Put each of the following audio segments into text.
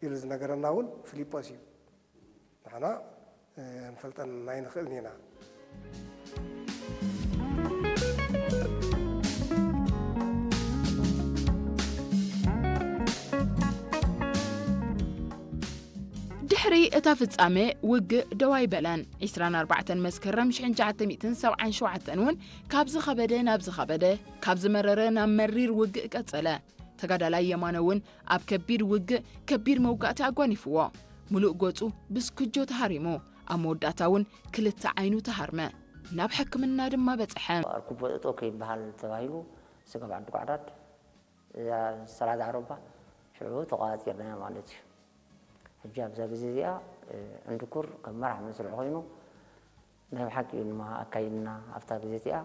ኢሉ ዝነገረና እውን ፊልጶስ እዩ። ንሕና ክንፈልጠን ኣይንኽእልን ኢና። ድሕሪ እታ ፍጻመ ውግእ ደው ኣይበለን። ዕስራን ኣርባዕተን መስከረም ሽሕን ትሽዓተ ሚእትን ሰብዓን ሸውዓተን እውን ካብ ዝኸበደ ናብ ዝኸበደ፣ ካብ ዝመረረ ናብ መሪር ውግእ ቀጸለ። ተጋዳላይ የማነ እውን ኣብ ከቢድ ውግእ ከቢድ መውጋእቲ ኣጓኒፍዎ። ምሉእ ገጹ ብስክጆ ተሃሪሙ። ኣብ መወዳእታ እውን ክልተ ዓይኑ ተሃርመ። ናብ ሕክምና ድማ በጽሐ። ኣርኩቦ እጦ ከይበሃል ተባሂሉ ስጋብ ዓዲ ጓዕዳድ እዛ ሰላዳ ዓረባ ሽዑ ተቋጺርናያ ማለት እዩ። ሕጂ ኣብዛ ግዜ እዚኣ ዕንድኩር ከም መራሕ መስርዕ ኮይኑ ናይ ብሓቂ ድማ ኣካይድና ኣብታ ግዜ እዚኣ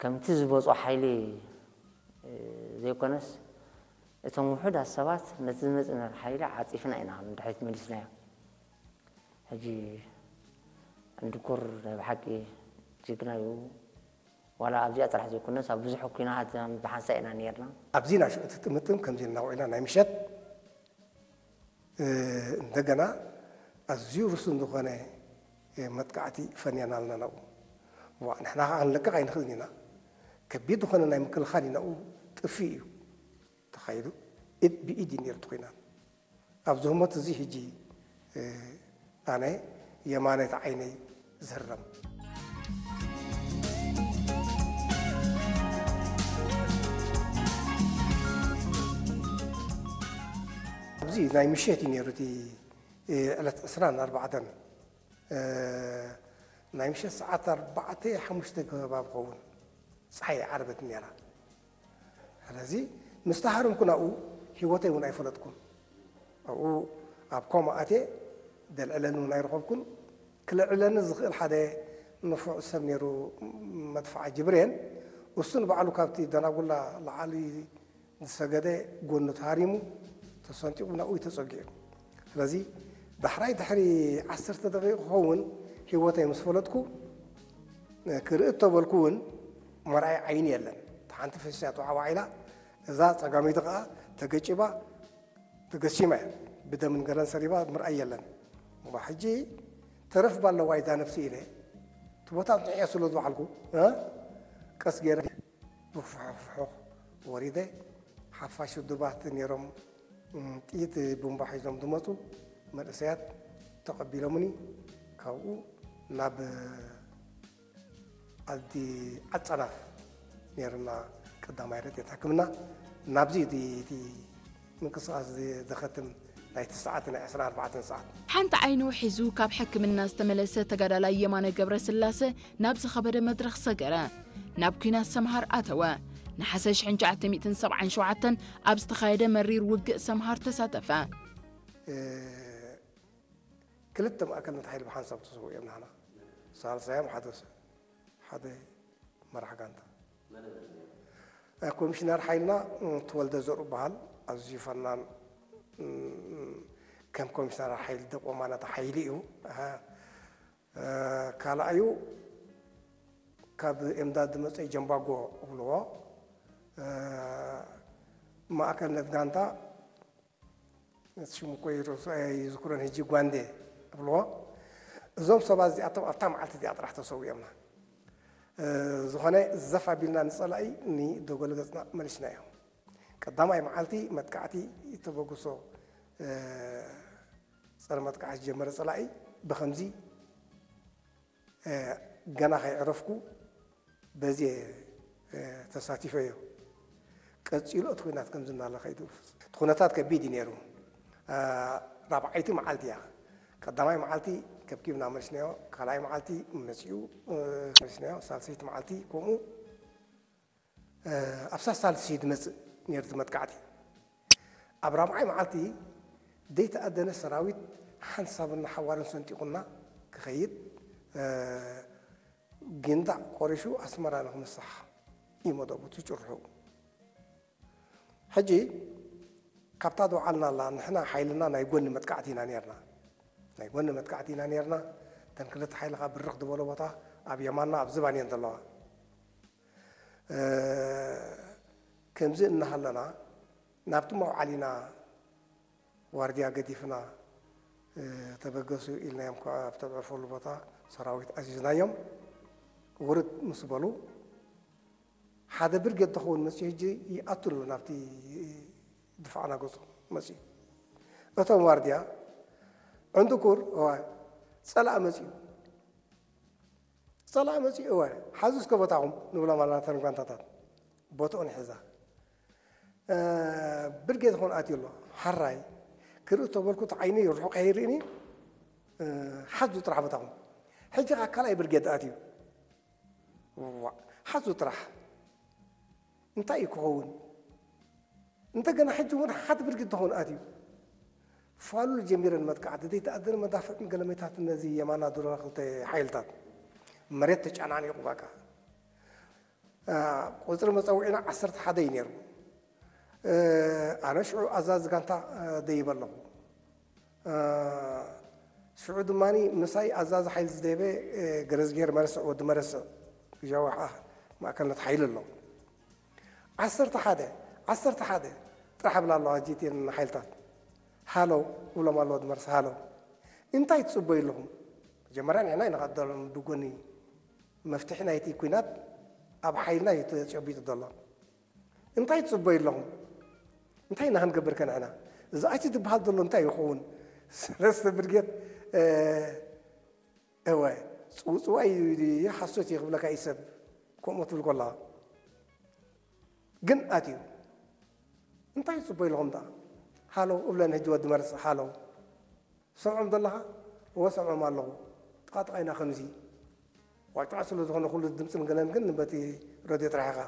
ከምቲ ዝበጾ ሓይሊ ዘይኮነስ እቶም ውሑዳት ሰባት ነቲ ዝመጽእ ሓይሊ ዓጺፍና ኢና ንድሕሪት መሊስናዮ። ሕጂ ዕንድኩር ናይ ብሓቂ ጅግና እዩ። ዋላ ኣብዚኣ ጥራሕ ዘይኮነስ ኣብ ብዙሕ ኩናት ብሓንሳእ ኢና ነርና። ኣብዚ ናሽዑ እቲ ጥምጥም ከምዚ ኢልና ውዒልና ናይ ምሸት እንደገና ኣዝዩ ርሱን ዝኾነ መጥቃዕቲ ፈንያና ኣለና ናብኡ። ዋ ንሕና ከዓ ክንለቅቕ ኣይንኽእልን ኢና። ከቢድ ዝኾነ ናይ ምክልኻል እዩ ናብኡ ጥፍእ እዩ ተኻይዱ። ኢድ ብኢድ እዩ ነይሩ እቲ ኩናት። ኣብዚ ህሞት እዚ ሕጂ ኣነ የማነይቲ ዓይነይ ዝህረም። ኣብዚ ናይ ምሸት እዩ ነይሩ እቲ ዕለት ዕስራን ኣርባዕተን ናይ ምሸት ሰዓት ኣርባዕተ ሓሙሽተ ከባቢ ኸውን ፀሓይ ዓረበት ነይራ። ስለዚ ምስ ተሃረምኩ ናብኡ ህይወተይ እውን ኣይፈለጥኩን። ኣብኡ ኣብ ኮማ ኣትየ ዘልዕለኒ እውን ኣይረኸብኩን። ክልዕለኒ ዝኽእል ሓደ ንፉዕ ሰብ ነይሩ መድፍዓ ጅብሬን። እሱ ንባዕሉ ካብቲ ደናጉላ ላዕሊ ዝሰገደ ጎኑ ተሃሪሙ ተሰንጢቑ ናብኡ እዩ ተፀጊዑ። ስለዚ ዳሕራይ ድሕሪ ዓሰርተ ደቂቕ ክኸውን ህይወተይ ምስ ፈለጥኩ ክርኢ እተበልኩ እውን መርኣይ ዓይኒ የለን። እታ ሓንቲ ፈሲሳ ተዋዕዋዕ ኢላ እዛ ጸጋመይቲ ከኣ ተገጭባ ተገሲማ እያ። ብደምን ገለን ሰሪባ ምርኣይ የለን። እሞ ሕጂ ተረፍ ባለዋ እዛ ነብሲ ኢለ እቲ ቦታ ንዕዮ ስለ ዝበዓልኩ እ ቀስ ገይረ ብፍሑኽ ፍሑኽ ወሪደ ሓፋሽ ውድባት ነይሮም ጥይት ቡምባ ሒዞም ዝመፁ መንእሰያት ተቐቢሎምኒ ካብኡ ናብ ዓዲ ዓጸናፍ ነይርና ቀዳማይ ረድኤት ሕክምና ናብዚ እቲ ምንቅስቃስ ዘኸትም ናይቲ ሰዓት ናይ ዕስራን ኣርባዕተን ሰዓት። ሓንቲ ዓይኑ ሒዙ ካብ ሕክምና ዝተመለሰ ተጋዳላይ የማነ ገብረስላሰ ናብ ዝኸበደ መድረኽ ሰገረ። ናብ ኲናት ሰምሃር ኣተወ። ነሓሰ ሽሕን ትሽዓተ ሚእትን ሰብዓን ሸውዓተን ኣብ ዝተኻየደ መሪር ውግእ ሰምሃር ተሳተፈ። ክልተ ማእከልነት ሓይሊ ብሓንሳብ ተሰዊኦም ናህና ሳልሳዮም ሓደ ሓደ መራሕ ጋንታ ኮሚሽነር ሓይልና ተወልደ ዘርኡ በሃል ኣዝዩ ፈናን ከም ኮሚሽነር ሓይሊ ደቆማና ተሓይሉ እዩ። ካልኣዩ ካብ ኤምዳድ ዝመፀ ጀምባጎ እብልዎ ማእከልነት ጋንታ ሽሙ እኮ ይዝክሮን ሕጂ ጓንዴ እብልዎ። እዞም ሰባት እዚኣቶም ኣብታ መዓልቲ እዚኣ ጥራሕ ተሰዊኦምና። ዝኾነ ዘፍ ኣቢልና ንፀላኢ ንደጎል ገፅና መሊስናዮ። ቀዳማይ መዓልቲ መጥቃዕቲ ተበግሶ ፀረ መጥቃዕቲ ዝጀመረ ፀላኢ ብኸምዚ ገና ከይዕረፍኩ በዚ ተሳቲፈዮ። ቀፂሉ እቲ ኩናት ከምዚ እናለ ከይዱ እቲ ኩነታት ከቢድ እዩ ነይሩ። ራብዓይቲ መዓልቲ እያ። ቀዳማይ መዓልቲ ከብኪብና መልስናዮ፣ ካልኣይ መዓልቲ መፂኡ መልስናዮ፣ ሳልሰይቲ መዓልቲ ከምኡ ኣብ ሳሳልሲ ድመጽእ ነይሩ እቲ መጥቃዕቲ። ኣብ ራብዓይ መዓልቲ ዘይተኣደነ ሰራዊት ሓንሳብና ሓዋርን ሰንጢቑና ክኸይድ ጊንዳዕ ቆሪሹ ኣስመራ ንክምሳሕ እዩ መደቡ እቲ ጭርሑ። ሕጂ ካብታ ዝወዓልናላ ንሕና ሓይልና ናይ ጎኒ መጥቃዕቲ ኢና ነርና። ናይ ጎኒ መጥቃዕቲ ኢና ነርና። እተን ክልተ ሓይልኻ ብርኽ ዝበሎ ቦታ ኣብ የማንና ኣብ ዝባን እየን ዘለዋ። ከምዚ እናሃለና ናብቲ መውዓሊና ዋርድያ ገዲፍና ተበገሱ ኢልናዮም። ከዓ ኣብ ተዕርፈሉ ቦታ ሰራዊት ኣዚዝናዮም። ውርድ ምስ በሉ ሓደ ብርጌድ ተኸውን መፅዩ። ሕጂ ይኣቱ ኣሎ ናብቲ ድፋዕና ገፁ መፅዩ። እቶም ዋርድያ ዕንድኩር እዋ ፀላእ መፅዩ፣ ፀላእ መፅዩ እወ ሓዙ እስከ ቦታኹም ንብሎም ኣለና። ተን ጓንታታት ቦትኦን ሒዛ ብርጌድ ኾን ኣትዩ ኣሎ። ሓራይ ክርኢ ተበልኩ፣ እቲ ዓይኒ ርሑቕ ኣይርእን እዩ። ሓዙ ጥራሕ ቦታኹም። ሕጂ ከዓ ካልኣይ ብርጌድ ኣትዩ። ሓዙ ጥራሕ እንታይ እዩ ክኸውን? እንደገና ሕጂ እውን ሓት ብርጊድ ትኾን ኣትዩ ፋሉል ጀሚረን መጥቃዕቲ ዘይተኣደነ መዳፍዕን ገለመታት ነዚ የማና ዱራ ክልተ ሓይልታት መሬት ተጨናኒቑ። በቃ ቁፅሪ መፀውዒና ዓሰርተ ሓደ እዩ ነይሩ። ኣነ ሽዑ ኣዛዚ ጋንታ ደይበ ኣለኹ። ሽዑ ድማ ምሳይ ኣዛዚ ሓይሊ ዝደይበ ገረዝጌር መረስዕ ወዲ መረስዕ ግጃዊ ማእከልነት ሓይሊ ኣሎ። ዓሰርተ ሓደ ዓሰርተ ሓደ ጥራሕ ብላ ኣለዋ ጂቲን ሓይልታት ሃለው እብሎም ኣለዎ ድመርስ ሃለው እንታይ ትፅበዩ ኣለኹም? መጀመርያ ንሕና ኢና ቀደሎም ብጎኒ መፍትሒ ናይቲ ኩናት ኣብ ሓይልና እዩ ተጨቢጡ ዘሎ። እንታይ ትፅበዩ ኣለኹም? እንታይ ኢና ክንገብር ከንዕና? እዚ ኣይቲ ዝበሃል ዘሎ እንታይ ይኸውን? ሰለስተ ብርጌት እወ ፅውፅዋይ ሓሶት እዩ ክብለካ እዩ ሰብ ከምኡ ትብል ኮላ ግን ኣትዩ እንታይ ትፅበዩ ኣለኹም? ዳ ሃለው እብለን ህጂ ወዲ መርስ ሃለው ሰምዖም ዘለኻ እወ ሰምዖም ኣለኹ። ጥቓጥቓ ኢና ከምዚ ዋጫ ስለ ዝኾነ ኩሉ ድምፅን ገለን ግን በቲ ረድዮ ጥራሕ ኢኻ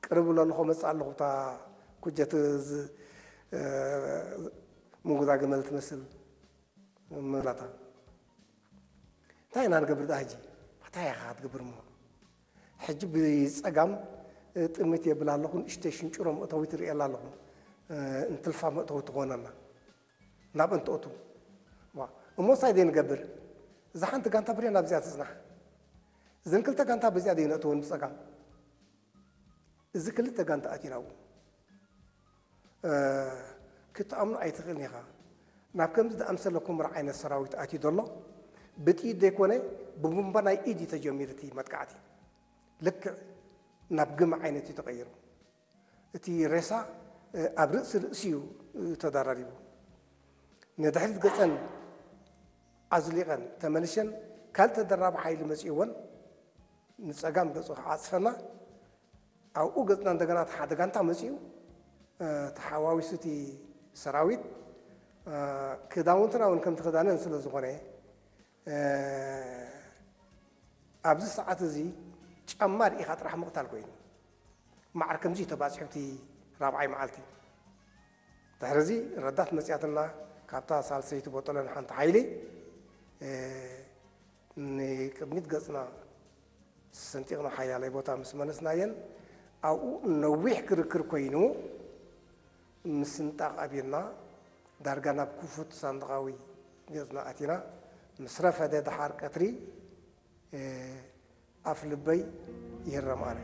ቅርብ እብሎ ኣለኹ መፅእ ኣለኹ እታ ኩጀት ምንጉዛ ገመል ትመስል መላታ እንታይ ኢና ንገብር ዳ ሕጂ እንታይ ኢኻ ክትገብር እሞ ሕጂ ብፀጋም ጥምት የብል ኣለኹ ንእሽተይ ሽንጭሮ መእተዊ ትርእየላ ኣለኹ እንትልፋ መእተዊ ትኾነና ናብ እንትኦቱ እሞ እንታይ ደይ ንገብር እዛ ሓንቲ ጋንታ ብሬን ኣብዚኣ ትፅናሕ እዘን ክልተ ጋንታ በዚኣ ደይ ነእተወን ብፀጋም እዚ ክልተ ጋንታ ኣቲናዎ ክትኣምኖ ኣይትኽእልን ኢኻ ናብ ከምዚ ዝኣምሰለ ኩምራ ዓይነት ሰራዊት ኣትዩ ዘሎ ብጥይት ዘይኮነ ብቡምባ ናይ ኢድ እዩ ተጀሚሩ እቲ መጥቃዕቲ ልክዕ ናብ ግመ ዓይነት እዩ ተቐይሩ እቲ ሬሳ ኣብ ርእሲ ርእሲ እዩ ተደራሪቡ ንድሕሪት ገፀን ኣዝሊቐን ተመልሸን ካልእ ተደራቢ ሓይሊ መፂእወን ንፀጋም ገፁ ክዓፅፈና ኣብኡ ገፅና እንደገና እቲ ሓደ ጋንታ መፂኡ ተሓዋዊሱ እቲ ሰራዊት ክዳውንትና እውን ከምቲ ክዳነን ስለ ዝኾነ ኣብዚ ሰዓት እዚ ጫማ ርኢኻ ጥራሕ ምቕታል ኮይኑ ማዕር ከምዚ ተባፂሑ እቲ ራብዓይ መዓልቲ ድሕርዚ ረዳት መፅያትና ካብታ ሳልሰይቲ ቦጠለን ሓንቲ ሓይሊ ንቅድሚት ገፅና ሰንጢቕና ሓያለይ ቦታ ምስ መለስናየን ኣብኡ ነዊሕ ክርክር ኮይኑ ምስንጣቕ ኣብና ዳርጋ ናብ ክፉት ሳንድቓዊ ገፅና ኣቲና ምስ ረፈደ ደሓር ቀትሪ ኣፍ ልበይ ይህረም ኣነ